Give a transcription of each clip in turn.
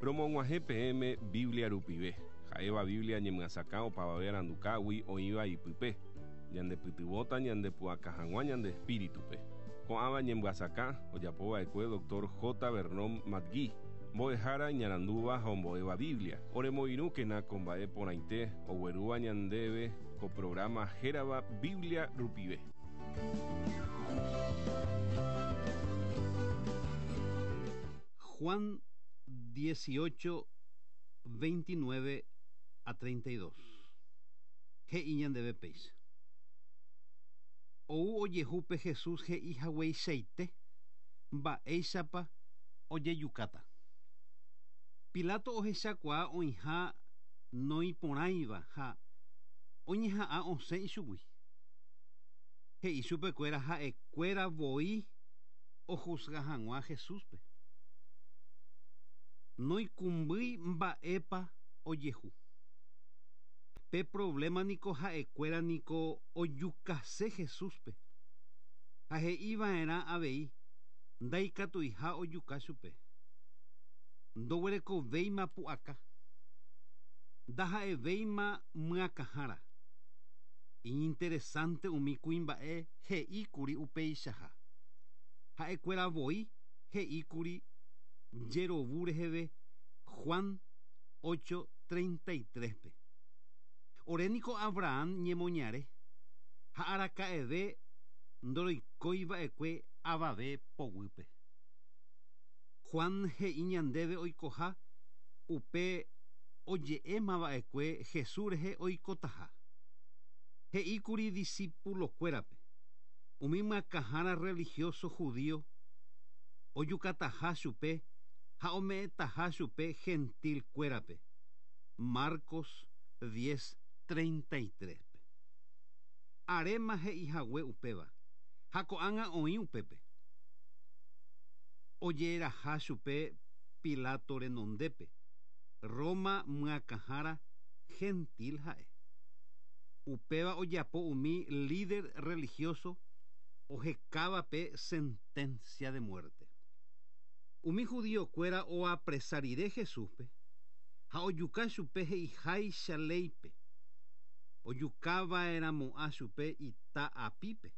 Romog̃uahẽ peẽme Biblia rupive, ha'éva Biblia ñemyasakã opavave arandukágui oĩva ipype, ñandepytyvõta ñandepu'aka hag̃ua ñande espíritupe. Ko'ãva ñemyasakã ojapova'ekue Dr. J. Vernon McGee, mbo'ehára iñarandúva ha ombo'éva Biblia. Oremoirũkena ko mba'e porãite oguerúva ñandéve ko programa hérava Biblia rupive. Juan 18, 29 a 32. He'i ñandéve péicha. Ou ojehu pe Jesús he'i hagueichaite mba'éichapa ojejukáta. Pilato ohechakuaa oĩha noĩporãiva ha oñeha'ã osẽ ichugui. He'i chupekuéra ha'ekuéra voi ohusga hag̃ua Jesúspe. Noikũmbýi mba'épa ojehu. Pe problema niko ha'ekuéra niko ojukase Jesúspe. Ha he'iva'erã avei ndaikatuiha ojuka chupe. Ndoguerekovéima pu'aka. Ndaha'evéima myakãhára. Iñinteresante umi kuimba'e he'íkuri upeichaha. Ha'ekuéra voi he'íkuri jerovu reheve Juan 8:33-pe. Ore niko Abraham ñemoñare ha araka'eve ndoroikóiva'ekue avave poguýpe. Juan he'i ñandéve oikoha upe oje'émava'ekue Jesús rehe oikotaha. He'íkuri discípulokuérape umi myakãhára religioso judío ojukataha chupe ha ome'ẽtaha chupe gentilkuérape. Marcos 10:33-pe. Aréma he'ihague upéva ha ko'ág̃a oĩ upépe. Ojeraha chupe Pilato renondépe, Roma myakãhára gentil ha'e. Upéva ojapo umi líder religioso ohekávape sentencia de muerte. Umi judíokuéra oapresa rire Jesúspe ha ojuka chupe he'iháicha léipe. Ojukava'erãmo'ã chupe ita apípe.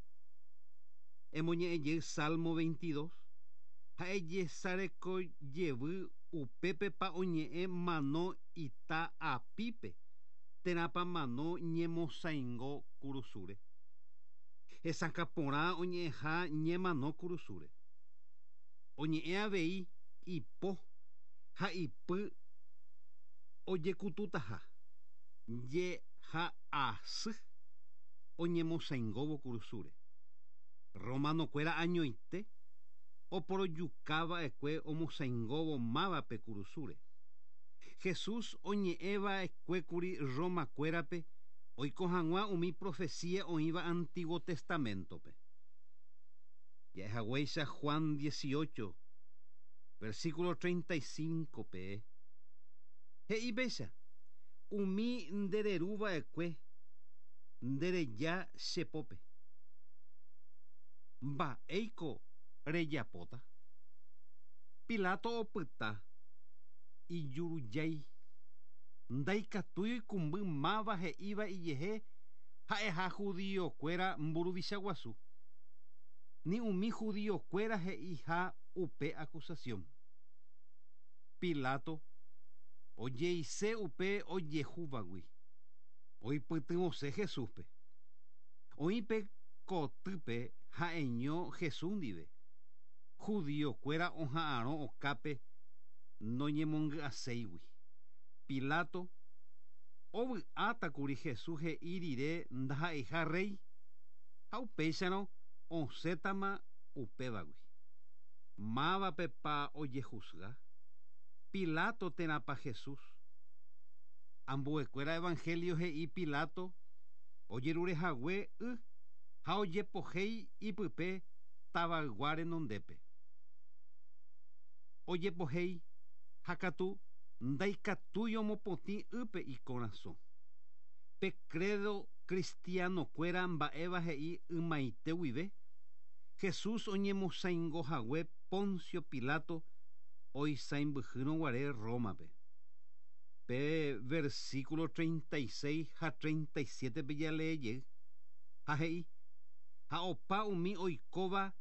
Emoñe'ẽjey Salmo 22 ha ejesarekojevy upépepa oñe'ẽ mano ita apípe térãpa mano ñemosãingo kurusúre. Hesakã porã oñe'ẽha ñemano kurusúre. Oñe'ẽ avei ipo ha ipy ojekututaha jeha'asy oñemosãingóvo kurusúre. Romanokuéra añoite oporojukava'ekue omosãingóvo mávape kurusúre. Jesús oñe'ẽva'ekuékuri Romakuérape oiko hag̃ua umi profecía oĩva Antiguo Testamentope. Ja'ehaguéicha Juan 18, versículo 35-pe. He'i péicha, umi ndereruva'ekue ndereja che pópe. Mba'éiko rejapóta? Pilato opyta ijurujái. Ndaikatúi oikũmby máva he'íva ijehe ha'eha judíokuéra mburuvicha guasu. Ni umi judíokuéra he'iha upe acusación. Pilato ojeise upe ojehúvagui. Oipytyvõse Jesúspe. Oĩ pe kotýpe ha'eño Jesús ndive. Judíokuéra oha'arõ okápe noñemongy'aséigui. Pilato ovy'átakuri Jesús he'i rire ndaha'eiha rey ha upéicharõ osẽtama upévagui. Mávapepa ojehusga? Pilato térãpa Jesús. Ambuekuéra Evangelio he'i Pilato ojerurehague y ha ojepohéi ipype tavaygua renondépe. Ojepohéi ha katu ndaikatúi omopotĩ ýpe ikorasõ. Pe credo cristianokuéra mba'éva he'i ymaite guive, Jesús oñemosãingohague Poncio Pilato Oisãmbyhýrõguare Rómape. Pe versículo 36 ha 37-pe jalee jey, ha he'i, Ha opa umi oikóva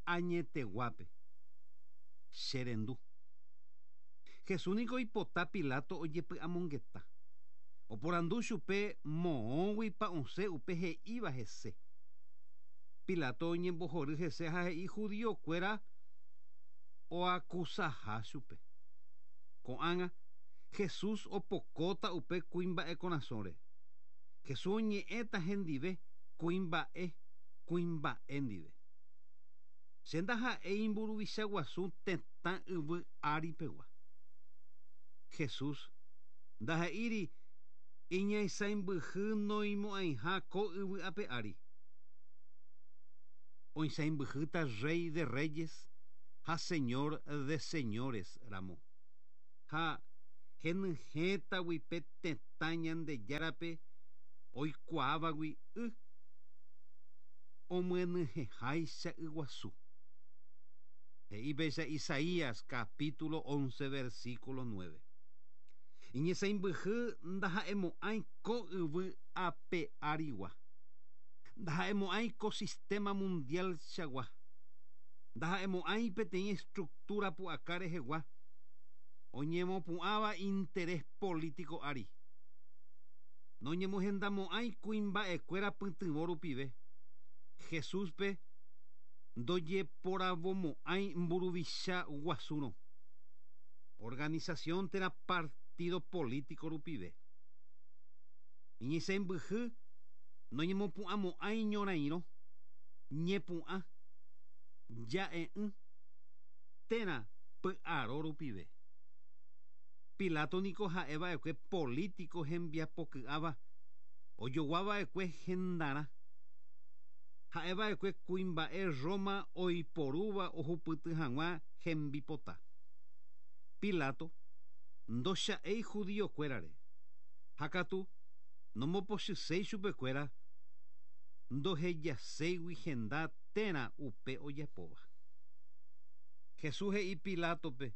añeteguápe, che rendu. Jesús niko oipota Pilato ojepy'amongeta. Oporandu chupe moõguipa osẽ upe he'íva hese. Pilato oñembohory hese ha he'i judío-kuéra oakusaha chupe. Ko'ág̃a, Jesús opokóta upe kuimba'e korasõre. Jesús oñe'ẽta hendive kuimba'e kuimba'e ndive. Che ndaha'éi mburuvicha guasu tetã yvy ári pegua. Jesús ndahe'íri iñaisãimbyhy noimo'ãiha ko yvy ape ári. Oisãimbyhýta Rey de reyes ha Señor de señores ramo. Ha henyhẽtagui pe tetã Ñandejárape oikuaávagui y omyenyhẽháicha yguasu. He'i péicha Isaías capítulo 11 versículo 9. Iñesãimbyhy ndaha'emo'ãi ko yvy ape árigua. Ndaha'emo'ãi ko sistema mundial-chagua. Ndaha'emo'ãi peteĩ estructura pu'aka rehegua oñemopu'ãva interés político ári. Noñemohendamo'ãi kuimba'ekuéra pytyvõ rupive. Jesús-pe ndojeporavomo'ãi mburuvicha guasúrõ, organización térã partido político rupive. Iñesẽmbyhy noñemopu'ãmo'ãi ñorairõ, ñepu'ã, ja'e'ỹ térã py'aro rupive. Pilato niko ha'e va'ekue político hembiapoky'áva ojogua va'ekue hendarã. Ha'e va'ekue kuimba'e Roma oiporúva ohupyty hag̃ua hembipota. Pilato ndocha'éi judío-kuérare, ha katu nombopochyséi chupekuéra ndohejaséigui henda térã upe ojapóva. Jesús he'i Pilátope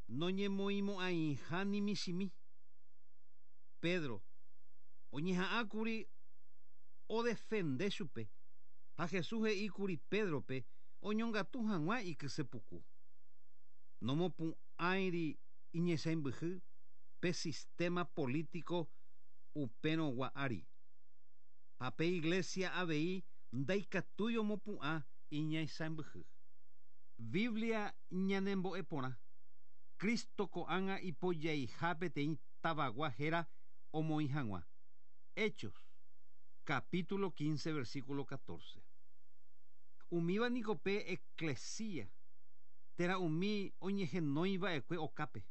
noñemoĩmo'ãiha ni michĩmi. Pedro oñeha'ãkuri odefende chupe, ha Jesús he'íkuri Pédrope oñongatu hag̃ua ikysepuku. Nomopu'ãiri iñesãimbyhy pe sistema polítiko upérõgua ári. Ha pe Iglesia avei ndaikatúi omopu'ã iñaisãmbyhy. Biblia ñanembo'e porã, Cristo ko'ág̃a ipojaiha peteĩ tavagua héra omoĩ hag̃ua. Hechos, capítulo 15 versículo 14. Umíva niko pe eklesia, térã umi oñehenói va'ekue okápe,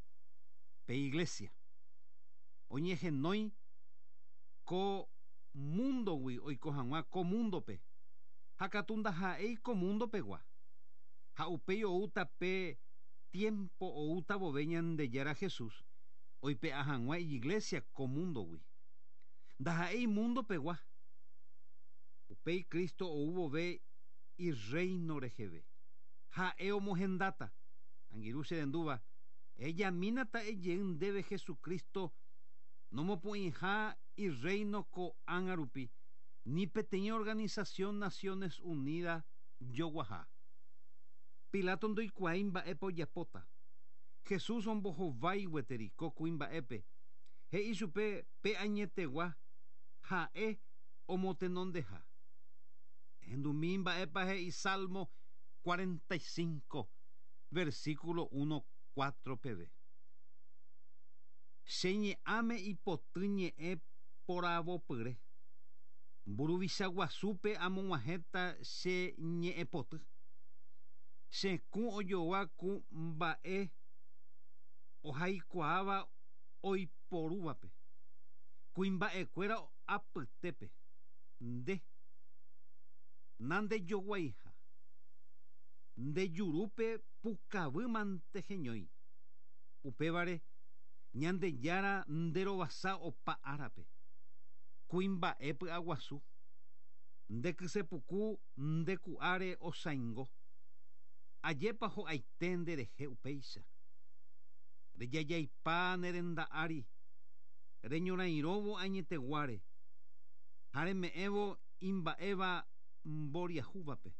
pe iglesia. Oñehenói ko múndogui oiko hag̃ua ko múndope, ha katu ndaha'éi ko múndo pegua. Ha upéi oúta pe tiémpo oúta vove Ñandejára Jesús oipe'a hag̃ua ijiglésia ko múndogui. Ndaha'éi múndo pegua. Upéi Cristo ou vove Irréino reheve, ha'e omohendáta. Angirũ che rendúva, ejamína ta'e jey ndéve Jesucristo nomopu'ĩha Irréino ko'ág̃a rupi, ni peteĩ organisasión Naciones Unidas joguaha. Pilato ndoikuaái mba'épa ojapóta. Jesús ombohovái gueteri ko kuimba'épe, he'i chupe pe añetegua ha'e omotenondeha. Ehendumi mba'épa he'i Salmo 45, versículo 1, 4 peve. Che ñe'ãme ipoty ñe'ẽ poravopyre. Mburuvicha guasúpe amog̃uahẽta che ñe'ẽpoty. Che kũ ojogua ku mba'e ohaikuaáva oiporúvape. Kuimba'ekuéra apytépe, nde, nandejoguaiha. Nde jurúpe pukavy mante heñói. Upévare, Ñandejára nde rovasa opa árape. Kuimba'e py'aguasu. Nde kysepuku nde ku'áre osãingo. Ajépa ho'aite nderehe upéicha. Rejajaipa ne renda ári, reñorairõvo añeteguáre, ha reme'ẽvo imba'éva mboriahúvape.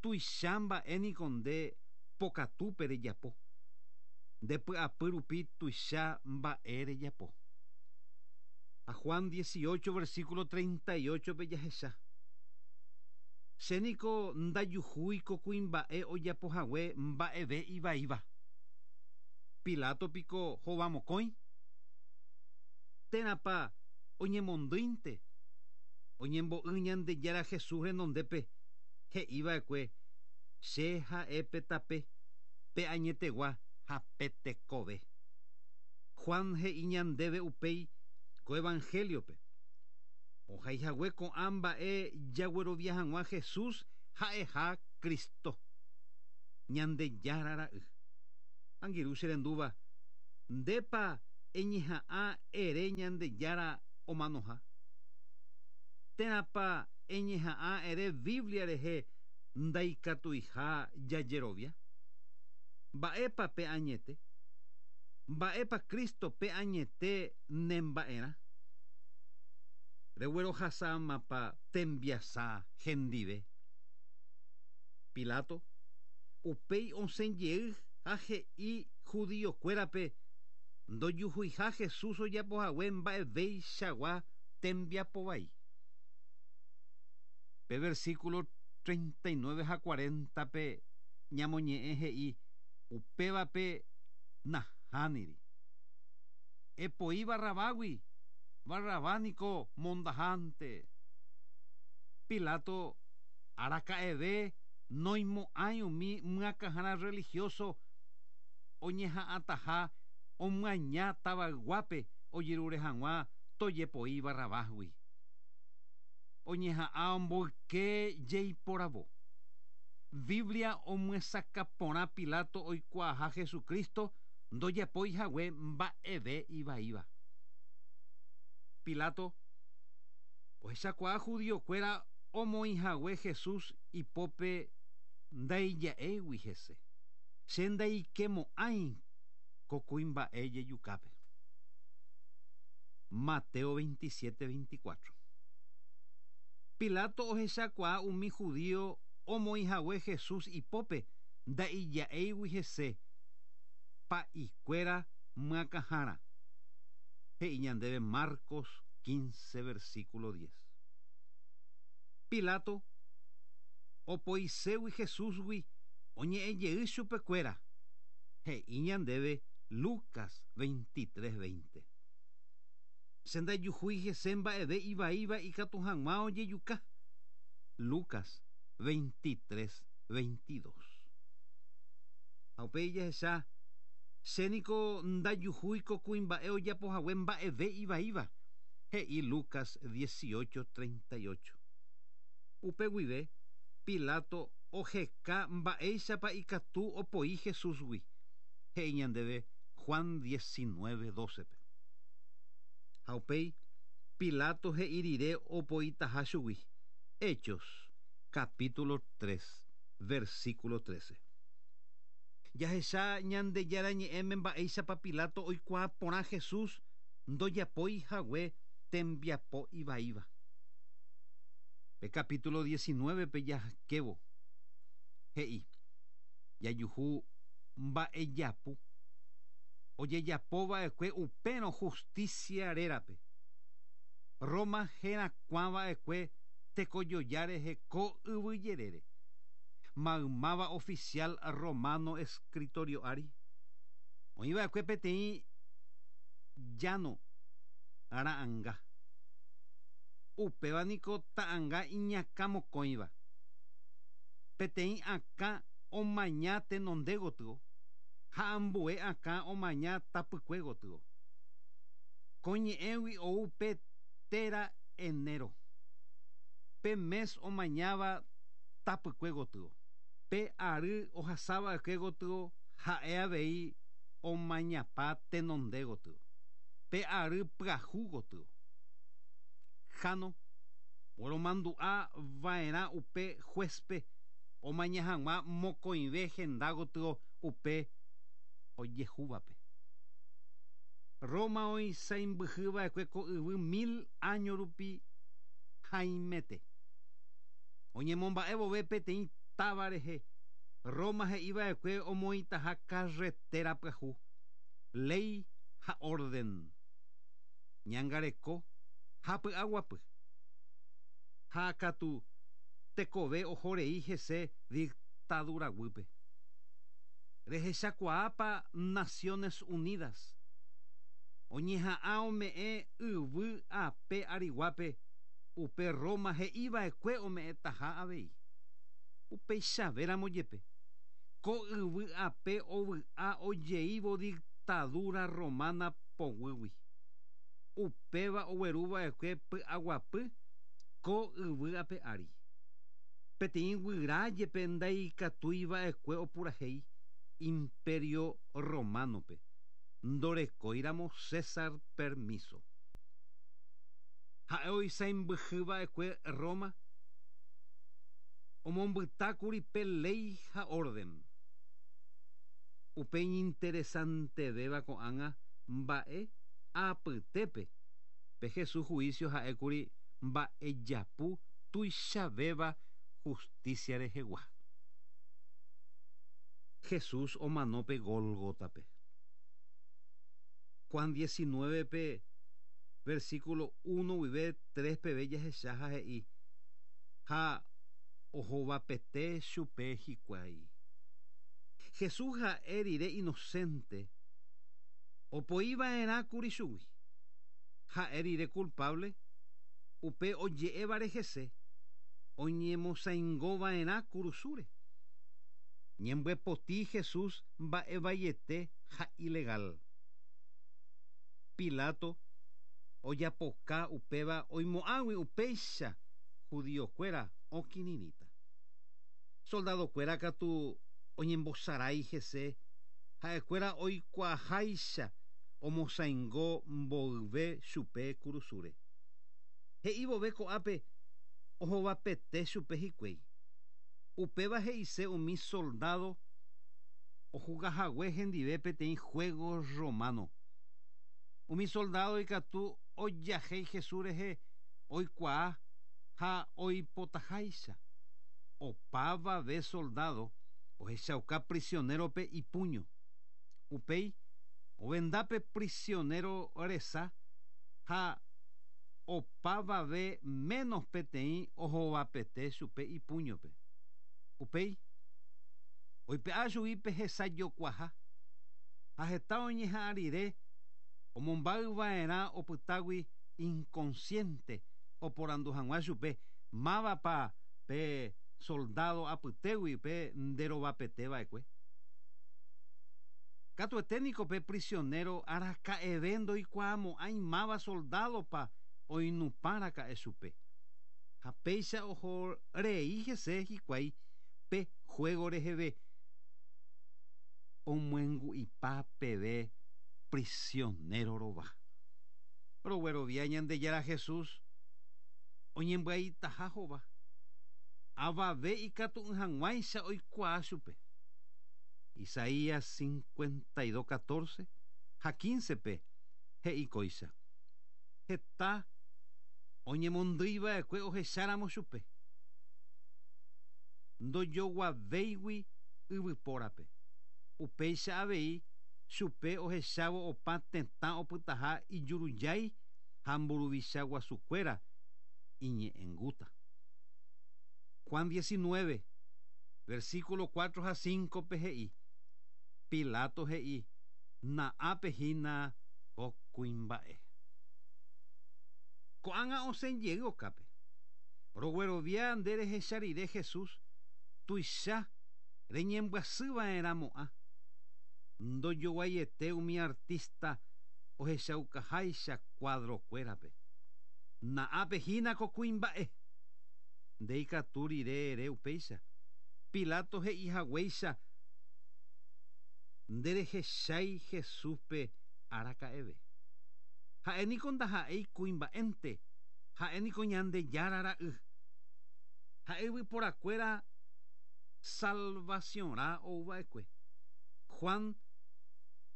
Tuicha mba'e niko nde pokatúpe rejapo, nde py'apy rupi tuicha mba'e rejapo. Ha Juan 18 versículo 38 pe jahecha. Che niko ndajuhúi ko kuimba'e ojapo hague mba'eve ivaíva. Pilato piko hova mokõi? Térãpa oñemondýinte? Oñembo'y Ñandejára Jesús renondépe, he'i va'ekue, Che ha'e pe tape, pe añetegua ha pe tekove. Juan he'i ñandéve upéi ko Evangelio-pe, Ohaihague ko'ã mba'e jaguerovia hag̃ua Jesús ha'eha Cristo, Ñandejára Ra'y. Angirũ che rendúva, ndépa eñeha'ã ere Ñandejára omanoha? Térãpa eñeha'ã ere Biblia rehe ndaikatuiha jajerovia? Mba'épa pe añete? Mba'épa Cristo pe añete nemba'erã? Reguerohasámapa tembiasa hendive? Pilato upéi osẽ jey ha he'i judíokuérape ndojuhuiha Jesús ojapo hague mba'evéichagua tembiapo vai. Pe versículo 39 ha 40-pe ñamoñe'ẽ he'i upévape nahániri. Epoi Barrabágui, Barrabás niko mondahánte. Pilato araka'eve noimo'ãi umi myakãhára religioso oñeha'ãtaha omyaña tavayguápe ojerure hag̃ua tojepoi Barrabásgui. Oñeha'ã omboyke jeiporavo. Biblia omyesakã porã Pilato oikuaaha Jesucristo ndojapói hague mba'eve ivaíva. Pilato ohechakuaa judíokuéra omoĩ hague Jesús ipópe ndaija'éigui hese. Che ndaikemo'ãi ko kuimba'e jejukápe. Mateo 27, 24. Pilato ohechakuaa umi judío omoĩ hague Jesús ipópe ndaija'éigui hese. Pa'ikuéra myakãhára, he'i ñandéve Marcos 15 versículo 10. Pilato opoiségui Jesúsgui oñe'ẽ jey chupekuéra, he'i ñandéve Lucas 23, 20. Che ndajuhúi hese mba'eve ivaíva ikatu hag̃ua ojejuka. Lucas 23, 22. Ha upéi jahecha, Che niko ndajuhúi ko kuimba'e ojapo hague mba'eve ivaíva, he'i Lucas 18, 38. Upe guive, Pilato oheka mba'éichapa ikatu opoi Jesúsgui, he'i ñandéve Juan 19, 12-pe. Ha upéi, Pilato he'i rire opoitaha chugui, Hechos, capítulo 3, versículo 13. Jahecha Ñandejára Ñe'ẽme mba'éichapa Pilato oikuaa porã Jesús ndojapói hague tembiapo ivaíva. Pe capítulo 19-pe jakévo, he'i, Jajuhu mba'ejapu ojejapo va'ekue upérõ justicia rérape. Roma herakuã va'ekue tekojoja rehe ko yvy jerére. Maymáva oficial romano escritorio ári, oĩ va'ekue peteĩ llano ra'anga. Upéva niko ta'anga iñakã mokõiva. Peteĩ akã omaña tenonde gotyo ha ambue akã omaña tapykue gotyo. Ko ñe'ẽgui ou pe téra enero. Pe mes omañáva tapykue gotyo. Pe ary ohasava'ekue gotyo ha'e avei omañapa tenonde gotyo. Pe ary pyahu gotyo. Jáno, oromandu'a va'erã upe juez-pe omaña hag̃ua mokõive henda gotyo upe ojehúvape. Roma oisãimbyhyva'ekue ko yvy mil áño rupi haimete. Oñemomba'e vove peteĩ táva rehe, Roma he'iva'ekue omoĩtaha carretera pyahu, léi ha orden, ñangareko ha py'aguapy. Ha katu tekove oho rei hese dictadura guýpe. Rehechakuaápa Naciones Unidas oñeha'ã ome'ẽ yvy ape ariguápe upe Roma he'iva'ekue ome'ẽtaha avei. Upeichavéramo jepe, ko yvy ape ovy'a ojeívo dictadura romana poguýgui. Upéva ogueruva'ekue py'aguapy ko yvy ape ári. Peteĩ guyra jepe ndaikatuiva'ekue opurahéi Imperio Romano-pe, ndorekóiramo César permiso. Ha'e oisãimbyhyva'ekue Roma, omombytákuri pe léi ha órden. Upe iñinteresantevéva ko'ág̃a mba'e apytépe, pe Jesús huísio ha'ékuri mba'ejapu tuichavéva hustísia rehegua. Jesús omano pe Gólgotape. Juan 19-pe, versículo 1 guive 3 peve jahecha ha he'i, Ha ohovapete chupe hikuái. Jesús ha'e rire inocente, opoi va'erã kuri chugui. Ha'e rire culpable, upe oje'évare hese, oñemosaingo va'erã kurusúre. Ñembyepoti Jesús mba'e vaiete ha ilegal. Pilato ojapoka upéva oimo'ãgui upéicha judío-kuéra okirirĩta. Soldado-kuéra katu oñembosarái hese ha'ekuéra oikuaaháicha omosaingo mboyve chupe kurusúre. He'i vove ko'ápe ohovapete chupe hikuái. Upéva he'ise umi soldádo ohugahague hendive peteĩ juego romano. Umi soldádo ikatu ojahéi Jesús rehe oikuaa ha oipotaháicha. Opavave soldádo ohechauka prisionérope ipúño. Upéi ovenda pe prisionéro resa ha opavave ménos peteĩ ohovapete chupe ipúñope. Upéi oipe'a chugui pe hesa jokuaha, ha heta oñeha'ã rire omombáy va'erã opytágui inconsciente oporandu hag̃ua chupe mávapa pe soldádo apytégui pe nderovapete va'ekue. Katuete niko pe prisionéro araka'eve ndoikuaamo'ãi máva soldádopa oinupã raka'e chupe. Ha péicha oho rei hese hikuái pe juego reheve omyengu'ipa peve prisionéro rova. Roguerovia Ñandejára Jesús oñembyaitaha hova, avave ikatu'ỹ hag̃uáicha oikuaa chupe. Isaías 52, 14 ha 15-pe he'i kóicha, Heta oñemondýi va'ekue ohecháramo chupe, ndojoguavéigui yvypórape. Upéicha avei chupe ohechávo opa tetã opytaha ijurujái ha mburuvicha guasukuéra iñe'ẽngúta. Juan 19, versículo 4 ha 5-pe he'i, Pilato he'i, Na'ápe hína ko kuimba'e. Ko'ág̃a osẽ jey okápe. Roguerovia nde rehecha rire Jesús tuicha reñembyasy va'erãmo'ã. Ndojoguaiete umi artista ohechaukaháicha cuadro-kuérape. Na'ápe hína ko kuimba'e. Nde ikatu rire ere upéicha. Pilato he'i haguéicha nderehechái Jesúspe araka'eve. Ha'e niko ndaha'éi kuimba'énte, ha'e niko Ñandejára Ra'y. Ha'e yvyporakuéra Salvación-rã ouva'ekue. Juan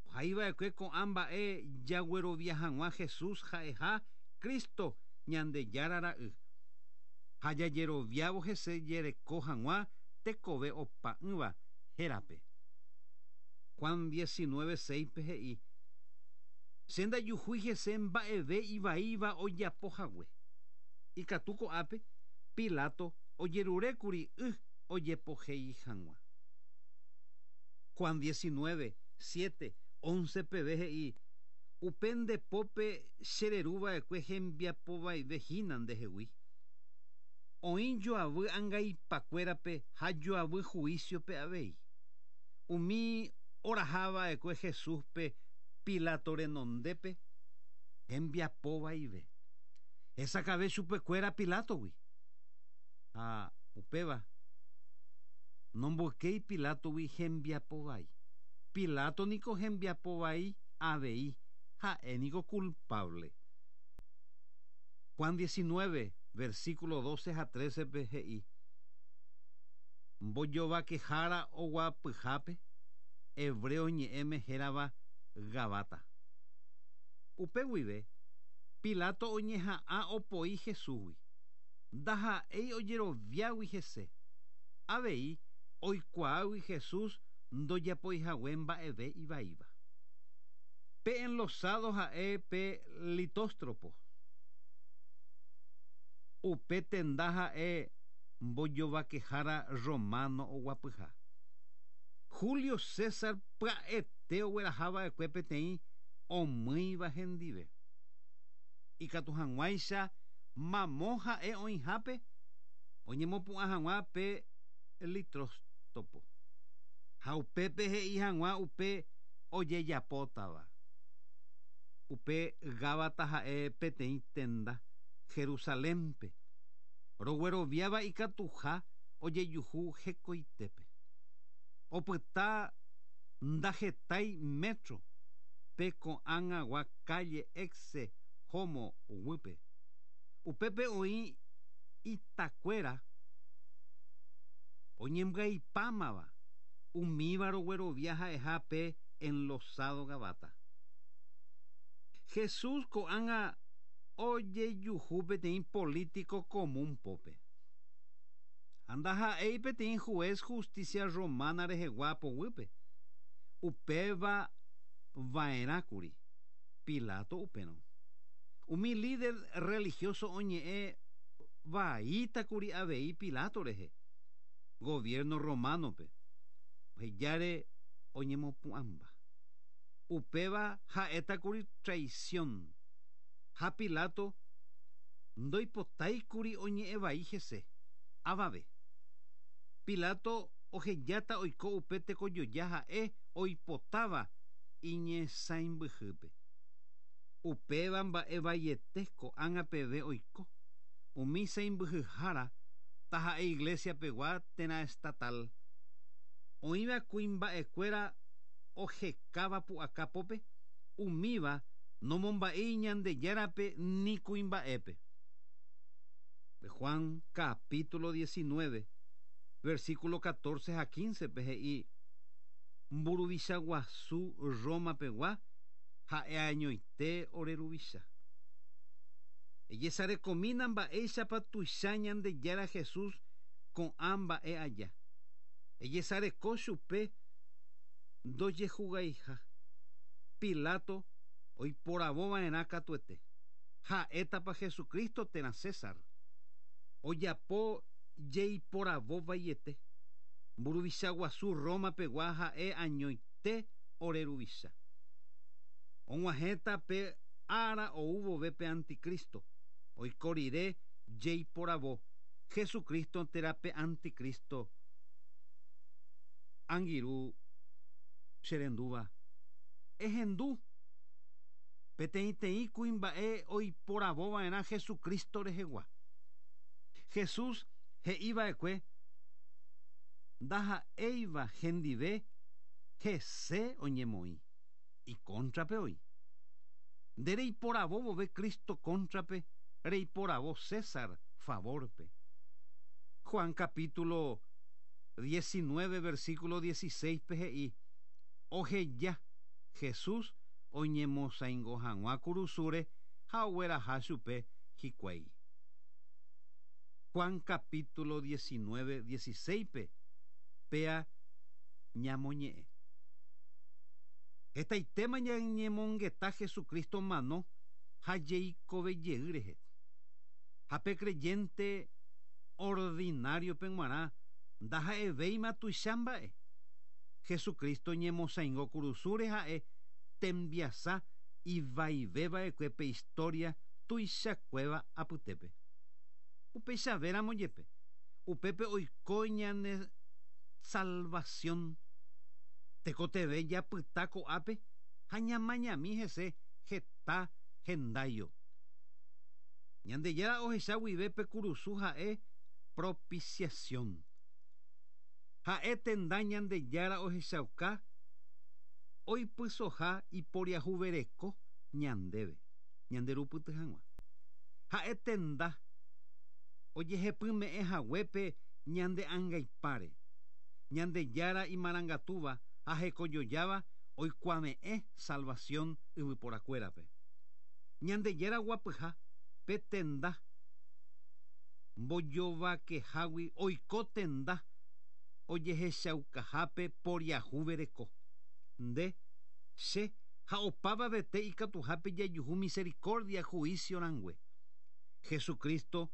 ohaiva'ekue ko'ã mba'e jaguerovia hag̃ua Jesús ha'eha Cristo Ñandejára Ra'y, ha jajeroviávo hese jereko hag̃ua tekove opa'ỹva hérape. Juan 19, 6-pe he'i, Che ndajuhúi hese mba'eve ivaíva ojapo hague. Ikatu ko'ápe, Pilato ojerurékuri y ojepohéi hag̃ua. Juan 19, 7, 11 peve he'i, Upe nde pópe chereruva'ekue hembiapovaive hína ndehegui. Oĩ joavy angaipakuérape ha joavy juísiope avei. Umi orahava'ekue Jesúspe Pilato renondépe hembiapovaive. Hesakãve chupekuéra Pilátogui. Ha upéva nomboykéi Pilátogui hembiapo vai. Pilato niko hembiapo vai avei, ha'e niko kulpávle. Juan 19, versículo 12 ha 13-pe he'i, Mbojovakehára oguapyhápe, hebreo ñe'ẽme hérava Gabata. Upe guive, Pilato oñeha'ã opoi Jesúsgui. Ndaha'éi ojeroviágui hese. Avei oikuaágui Jesús ndojapoihague mba'eve ivaíva. Pe enlosado ha'e pe Litóstropo. Upe tenda ha'e mbojovakehára romano oguapyha. Julio César pya'ete oguerahava'ekue peteĩ omýiva hendive. Ikatu hag̃uáicha mamo ha'e oĩhápe oñemopu'ã hag̃ua pe Litróstopo, ha upépe he'i hag̃ua upe ojejapótava. Upe Gábata ha'e peteĩ tenda Jerusalénpe, rogueroviáva ikatuha ojejuhu hekoitépe. Opyta ndahetái métro pe ko'ág̃agua kálle Ecce Homo guýpe. Upépe oĩ itakuéra oñembyaipámava, umíva roguerovia ha'eha pe enlosado Gabata. Jesús ko'ág̃a ojejuhu peteĩ polítiko común pópe. Ha ndaha'éi peteĩ juez justicia romana rehegua poguýpe. Upéva va'erãkuri Pilato upérõ. Umi líder religioso oñe'ẽ vaítakuri avei Pilato rehe, gobierno romano-pe, ohejáre oñemopu'ãmba. Upéva ha'étakuri traición, ha Pilato ndoipotáikuri oñe'ẽ vai hese avave. Pilato ohejáta oiko upe tekojoja ha'e oipotáva iñesãimbyhýpe. Upéva mba'e vaiete ko'ág̃a peve oiko, umi sãimbyhyhára taha'e iglesia pegua térã estatal, oĩva kuimba'ekuéra ohekáva pu'aka pópe, umíva nomomba'éi Ñandejárape ni kuimba'épe. Juan capítulo 19, versículo 14 ha 15-pe he'i, Mburuvicha guasu Roma pegua ha'e añoite ore ruvicha. Ejesarekomína mba'éichapa tuicha Ñandejára Jesús ko'ã mba'e aja. Ejesareko chupe ndojehugaiha. Pilato oiporavo va'erã katuete, ha'étapa Jesucristo térã César. Ojapo jeiporavo vaiete. Mburuvicha guasu Roma pegua ha'e añoite ore ruvicha. Og̃uahẽta pe ára ou vove pe anticristo, oiko rire jeiporavo Jesucristo térã pe anticristo angirũ che rendúva. Ehendu! Peteĩteĩ kuimba'e oiporavo va'erã Jesucristo rehegua. Jesús he'i va'ekue ndaha'éiva hendive hese oñemoĩ, ikóntrape oĩ. Nde reiporavo vove Cristo kóntrape, reiporavo César favórpe. Juan capítulo. 19 versículo 16 pe he'i oheja Jesús oñemosaingo hag̃ua kurusúre ha ogueraha chupe hikuái. Juan capítulo 19 16 pe péa ñamoñe'ẽ. Hetaitéma ñañemongeta Jesucristo mano ha jeikovejey rehe. Ha pe creyente ordinario-pe g̃uarã ndaha'evéima tuicha mba'e. Jesucristo ñemosaingo kurusúre ha'e tembiasa ivaiveva'ekue pe historia tuichakuéva apytépe. Upeichavéramo jepe, upépe oiko ñane salvación. Tekotevẽ japyta ko'ápe ha ñamañami hese heta hendáio. Ñandejára ohecha guive pe kurusu ha'e propiciación. Ha'e tenda Ñandejára ohechauka oipysoha iporiahuvereko ñandéve, ñanderupyty hag̃ua. Ha'e tenda ojehepyme'ẽ haguépe ñande angaipáre. Ñandejára imarangatúva ha hekojojáva oikuave'ẽ salvación yvyporakuérape. Ñandejára guapyha pe tenda mbojovakehágui oiko tenda ojehechaukahápe poriahuvereko. Nde, che ha opavavete ikatuhápe jajuhu misericordia juicio rangue. Jesucristo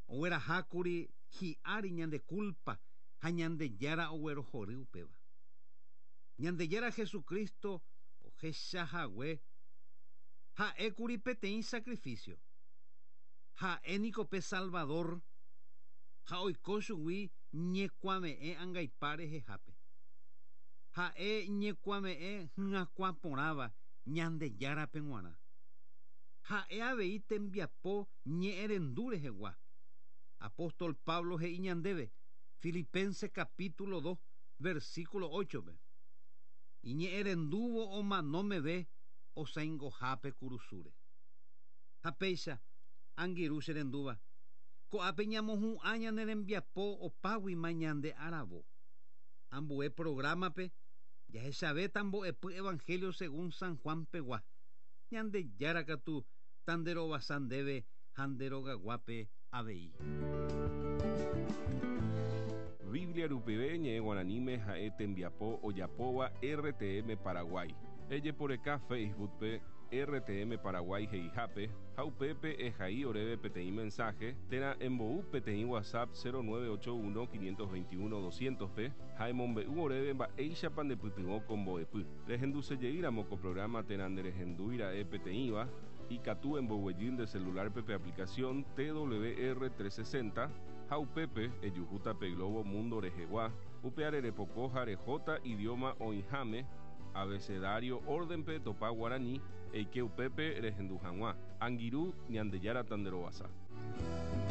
oguerahákuri hi'ári ñande culpa ha Ñandejára oguerohory upéva. Ñandejára Jesucristo ohechahague ha'ékuri peteĩ sacrificio. Ha'e niko pe Salvador ha oiko chugui ñekuave'ẽ angaipa rehehápe. Ha'e ñekuave'ẽ hyakuã porãva Ñandejárape g̃uarã. Ha'e avei tembiapo ñe'ẽrendu rehegua. Apóstol Pablo he'i ñandéve Filipenses capítulo 2, versículo 8-pe. Iñe'ẽrendúvo omano meve osaingohápe kurusúre. Ha péicha, angirũ che rendúva, ko'ápe ñamohu'ã ñane rembiapo opáguima ñande aravo. Ambue programa-pe jahechavéta mbo'epy Evangelio según San Juan pegua. Ñandejára katu tanderovasa ndéve ha nde rogaguápe avei. Biblia rupive ñe'ẽ guaraníme ha'e tembiapo ojapóva RTM Paraguay. Ejeporeka Facebook-pe RTM Paraguay he'ihápe ha upépe ehai oréve peteĩ mensaje térã embou peteĩ WhatsApp 0981 521 200-pe ha emombe'u oréve mba'éichapa ndepytyvõ ko mbo'epy. Rehendusejeýramo ko programa térã nderehendúira'e peteĩva, ikatu emboguejy nde celular-pe pe aplicación TWR 360 ha upépe ejuhúta pe globo mundo rehegua, upeare repoko ha rehóta idioma oĩháme, abecedario orden-pe etopa guarani, eike upépe rehendu hag̃ua. Angirũ, Ñandejára tanderovasa.